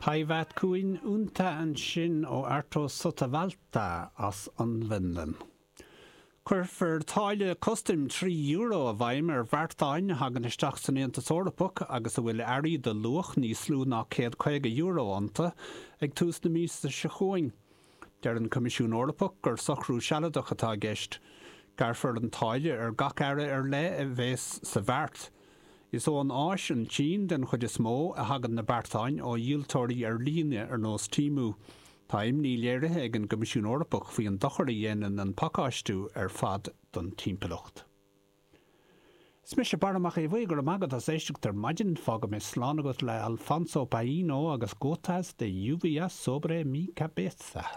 Päivät kuin unta ansin ó Arto Sotavalta as an bhFionlainn. Cuirfear táille custaim €3 i bhfeidhm ar bheartáin a thagann isteach san Aontas Eorpach agus a bhfuil earraí de luach níos lú ná €150 iontu ag tús na míosa seo chugainn. Deir an Coimisiún Eorpach gur socrú sealadach atá i gceist. Gearrfar an táille ar gach earra ar leith a bheas sa bheart. Is ón Áis, an tSín den chuid is mó, a thagann na beartáin ó dhíoltóirí ar líne ar nós Temu. Tá imní léirithe ag an gCoimisiún Eorpach faoi an dochar a dhéanann an pacáistiú ar fad don timpeallacht. Is mise Barra Mac Aodha Bhuí, go raibh maith agat as éisteacht ar maidin. Fágfaidh mé slán agat le Alfonso Paino agus Gotas de lluvia sobre mi cabeza.